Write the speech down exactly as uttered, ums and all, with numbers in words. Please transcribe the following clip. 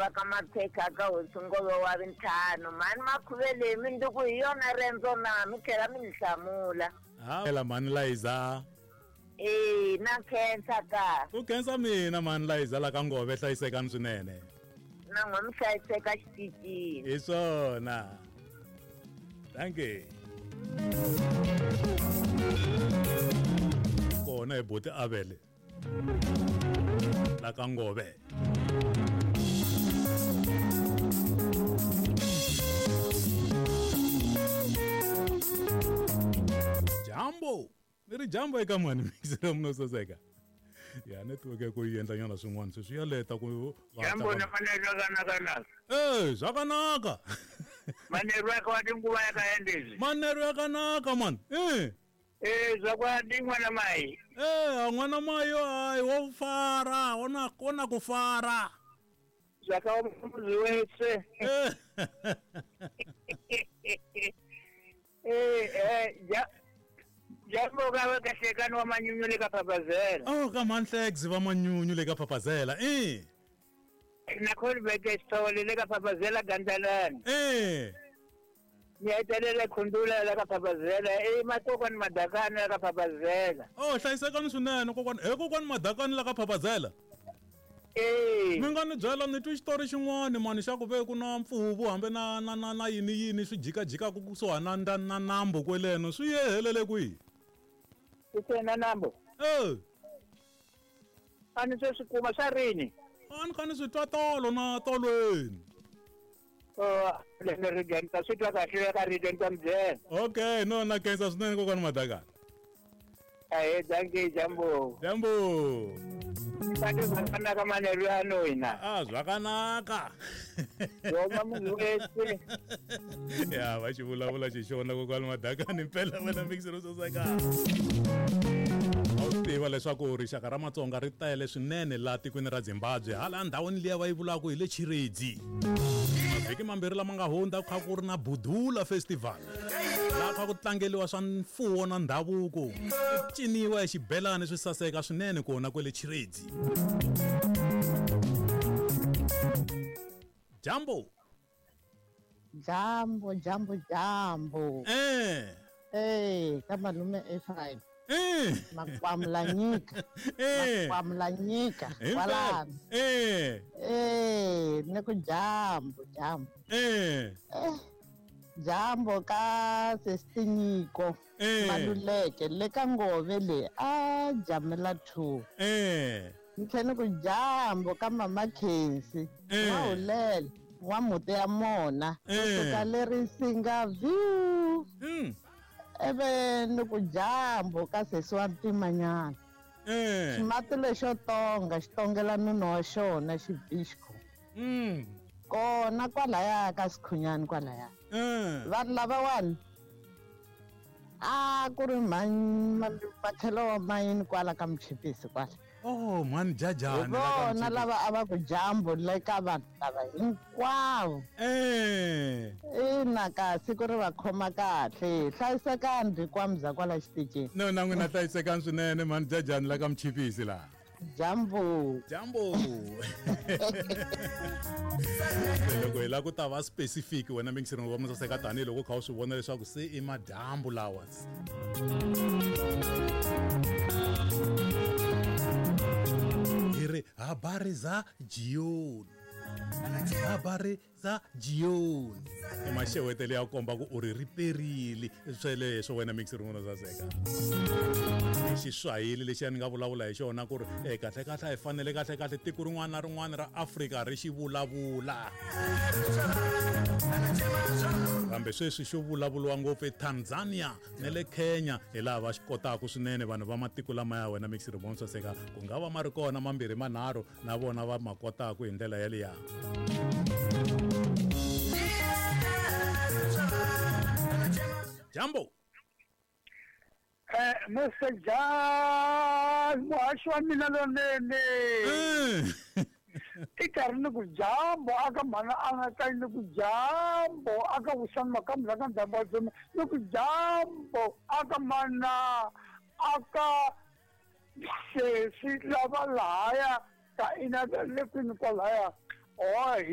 va ka Mapheka ka hosi Ngove wa vintlhanu. Mhani Makhuvele minduku hi yona rendzo na mi tlhela mi ni hlamula. Ha ela mhani Liza. Eh na khensa ka. Ku khensa mina mhani Liza la ka Ngove hlayisekani swinene. Na n'we mi hlayiseka xitichini. Hi swona. Thank you. Kona hi buti Avele la ka Ngove. Jambo ni ri jambo eka mhani mixero munososeka. Ya network ku yi endla nyana swin'wana sweswi ya leta ku jambo na fanele zvakanaka. Eh zvakanaka. Manheru akawati nguva yakaendezvi. Manheru yakanaka man. Eh Eh zvakwadi mwana mai. Eh mwana mai hayi wo fara ona kona kufara. Zvakaoma muzi wese. Eh eh eh ja jambo ka kahlekani wa manyunyu le ka Phaphazela. Oh ka manhlex va manyunyu le ka Phaphazela. Eh na khonibeke sithole le ka Phaphazela Gandalani. Eh Ngiyadelela khundula la ka Phaphazela e matokwana madakana la ka Phaphazela. Oh hlayisekani swinene kokwana he kokwana madakana la ka Phaphazela. Eh mi nga ni byela ni twi xitori xin'wana mani xa ku ve ku na mpfuvu hambe na na na na yini yini swi jikajikaku kusuhana na na nambu kweleno swi ye helele kwihi? Kusuhi nambu? Eh a ni se swi kuma swa rini? A ni kha ni swi twa tolo na tolweni. Oh le ri genta swi twa kahle ka ri genta mbyela. Okay no na khensa swinene kokwana madakana. Ahe dankie jambo. Jambo. Sati zvakanaka manheru ano ina. Ah zvakanaka. Roma munhu wese. Ya va xi vulavula xixona kokwana madakana impela wena mixero soseka. A wu tiva leswaku rixaka ra Matsonga ri tele swinene laha tikweni ra Zimbabwe hala ndhawini liya va yi vulaka hi le Chiredzi. Mavhiki mambirhi lama nga hundza ku kha ku ri na Budula Festival. Laha kha ku tlangeliwa swa mfuwo na ndhavuko. Ku ciniwa hi xibelani swi saseka swinene kona kwele Chiredzi. Jambo. Jambo, jambo, jambo. Eh. Eh, ka malume Ephraim. Eh. Makwamulanyika. Eh. Makwamulanyika. Kwalano. Eh. Eh, ni ku jambo, jambo. Eh. Eh. Jambo ka sesinyiko. Eh. Maluleke le ka Ngove le a jamela two. Eh. Ni tlhela ku jambo ka mama Khensi. Eh. Wa wa muti ya mona. Eh. Kusuka leri singa view. Mm. Eve ni ku jambo ka sesi wa ntimanyana. Eh. Ximati lexo tonga xi tongela nuna wa xona xibixko. Mm. Kona kwalaya ka Sikhunyani kwalaya. Eh. Vanhu lavawani a ku ri mhani matlhelo wa mayini kwala ka Muchipisi kwala. Oh mhani Jajani vona lava a va ku jambo le ka vanhu lava hinkwavo. Eh. Ina kasi ku ri va khoma kahle hlayisekani rikwamza kwala xitichini. No na n'wina hlayisekani swinene mhani Jajani la ka Muchipisi laha. Jambo. Jambo. Loko hi lava ku ta va specific wena mixing wa musaseka tanihiloko u kha u swi vona leswaku se i madyambu lawa. Hi ri habari za jioni. Habari za jioni. I maxewetele ya komba ku u ri riperile sweleswo wena mixing wa musaseka. Xiswahili lexi ni nga vulavula hi xona ku ri eh kahle kahle hi fanele kahle kahle tiko rin'wana na rin'wana ra Afrika ri xi vulavula. Kambe sweswi xo vulavuriwa ngopfu eTanzania na le Kenya hi laha va xi kotaka swinene vanhu va matiko lama ya wena mixing wa musaseka ku nga va ma ri kona mambirhi manharhu na vona va ma kotaka hi ndlela yaliya. Jambo. Eh Mister Jan, muhaxi wa mina lonene. I karhi ni ku jambo aka mhana a nga ka ni ku jambo aka vuxani makambu la ka ndhambo wa dzoma ni ku jambo aka mana aka sesi lava lahaya ka ina le kwini kwalaya. Oh